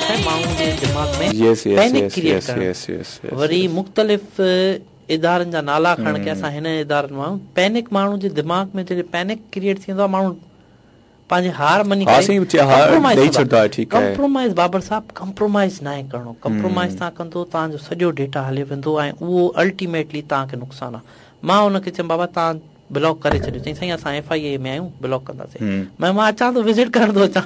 آهي ماڻهن جي دماغ ۾ پينڪ ڪريئيٽ ڪرڻ. وري مختلف ادارن جا نالا کڻڻ ڪي اسان هن ادارن مان آهيون. پينڪ ماڻهو جي دماغ ۾ جڏهن پينڪ ڪريئيٽ ٿيندو آهي ماڻهو پنهنجي هار مڃي ڪري ڪمپرومائيز ڪندو آهي. ڪمپرومائيز بابر صاحب ڪمپرومائيز ناهي ڪرڻو. ڪمپرومائيز توهان ڪندو توهان جو سڄو ڊيٽا هليو ويندو ۽ اهو الٽيميٽلي توهان کي نقصان آهي. مان ان کي چيم بابا توهان بلاڪ ڪري ڇڏيو. چيائين سائين اسان ايف I اي ۾ آهيون بلاڪ ڪنداسين. مين مان اچان ٿو وزٽ ڪرڻ ٿو اچان.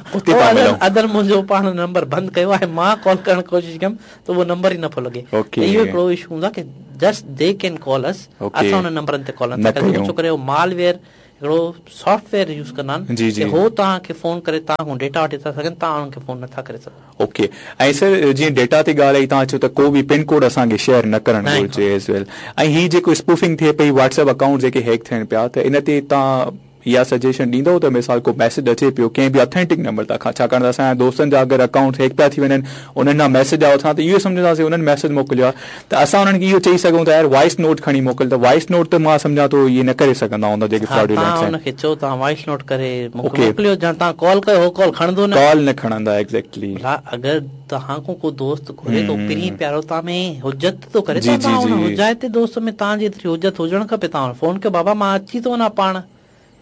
ادر منهنجو پاڻ نمبر بند ڪيو آهي مان ڪال ڪرڻ ڪوشش ڪيم ته اهو نمبر ئي نه پيو لڳي. ته اهو هڪڙو اشو هوندو آهي ڪي جسٽ the ڪين ڪال اس اسان انهن نمبرن تي ڪال نٿا ڪري سگهون ڇو ڪري اهو مال ويئر هڪڙو سافٽ ويئر يوز ڪندا آهن ڪي هو توهان کي فون ڪري توهان کان ڊيٽا وٺي ٿا سگهن توهان انهن کي فون نٿا ڪري سگهو. اوڪي ۽ سر جيئن ڊيٽا تي ڳالهه آئي توهان چيو ته ڪو به پن ڪوڊ اسان کي شيئر نه ڪرڻ گهرجي ايز ويل ۽ هي جيڪو اسپوفنگ ٿئي پئي واٽس ايپ اڪائونٽ جيڪي هيڪ ٿين پيا ته ان تي توهان اها سجيشن ڏيندؤ ته مثال ڪو ميسيج اچي پيو ڪنهن به اٿينٽڪ نمبر تان کان ڇاڪاڻ ته اسان جا دوستن جا اگر اڪائونٽ هيڪ پيا ٿي وڃن انهن ڏانهن ميسيج آيو اسان ته اهو سمجهنداسين انهن ميسيج موڪليو آهي ته اسان انهن کي اهو چئي سگهون ٿا يار وائس نوٽ کڻي موڪل ته وائس نوٽ ته مان سمجهان ٿو اهي نه ڪري سگهندا هوندا جيڪي ها فراڊولنٽس توهان آهن ان کي چئو توهان وائس نوٽ ڪري مون کي اوڪي موڪليو يا توهان ڪال ڪيو هو ڪال کڻندو نه. ڪال نه کڻندا ايگزيڪٽلي. ڀلا اگر توهان کان ڪو دوست گهري ٿو پرين پيارو توهان ۾ حجت ٿو ڪري جي ته جي توهان جي ان حجائتي دوست ۾ توهان جي ايتري حجت هجڻ کپي توهان فون ڪيو بابا مان اچي ٿو وڃان پاڻ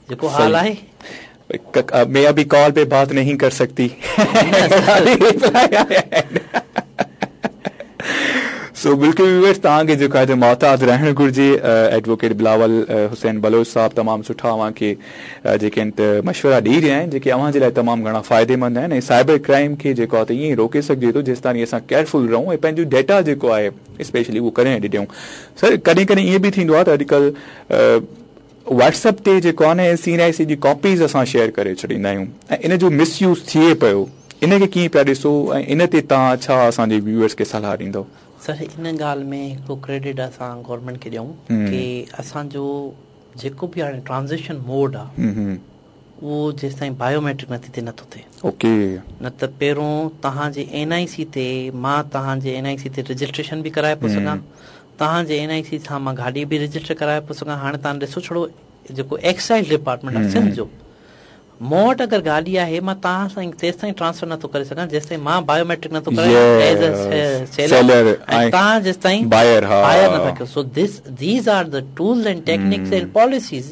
جيڪو حال آهي. مين اڀي ڪال پي بات نهين ڪر سڪتي سو بلڪل ويورز توهان کي جيڪو آهي ته محتاط رهڻ گهرجي ايڊووڪيٽ بلاول حسين بلوچ صاحب تمام سٺا اوهان کي جيڪي آهن ته مشورا ڏئي رهيا آهن جيڪي اوهان جي لاء تمام گهڻا فائديمند آهن ۽ سائبر ڪرائم کي جيڪو آهي ته ائين ئي روڪي سگهجي ٿو جيستائين اسان ڪيئرفل رهون ۽ پنهنجو ڊيٽا جيڪو آهي اسپيشلي اهو ڪڏهن نه ڏيون سر ڪڏهن ڪڏهن ائين به ٿيندو آهي ته اڄڪلهه واٽس ايپ تي جيڪو آهي نه سي اين آء سي جي ڪاپيز اسان شيئر ڪري ڇڏيندا آهيون ۽ ان جو مس يوز ٿئي پيو ان کي ڪيئن پيا ڏسو ۽ ان تي توهان ڇا اسان جي ويوئرس کي صلاح ڏيندؤ. سر ان ڳالهه ۾ هڪڙو ڪريڊٽ اسان گورنمينٽ کي ڏيون ڪي اسان جو جيڪو به هاڻي ٽرانزيڪشن موڊ آ اهو جيستائين بايو ميٽرڪ نٿي ٿئي نٿو ٿئي. اوڪي. نه ته پهرون توهان جي اين آء سي تي مان توهان جي اين آء سي تي رجسٽريشن به ڪرائي پيو سگهان توهان جي اين آء سي سان مان گاڏي به رجسٽر ڪرائي پيو سگهان هاڻي توهان ڏسو ڇڙو جيڪو ايڪسائيز ڊپارٽمينٽ آهي سنڌ جو مون وٽ اگر گاڏي آهي مان توهان سان تيستائين ٽرانسفر نٿو ڪري سگهان جيستائين مان بايو ميٽرڪ نٿو ڪرايان ايز اي سيلر ۽ توهان جيستائين بائر نٿا ڪيو so this these are the tools and techniques and policies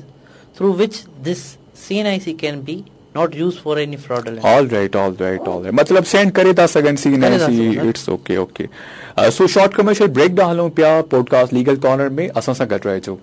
through which this C N I C can be not use for any fraudulent. All right all right all right مطلب send ڪري ٿا سگهن C N I C it's okay okay so short commercial break ڏانهن هلون پيا podcast legal corner ۾ اسان سان گڏ رهجو.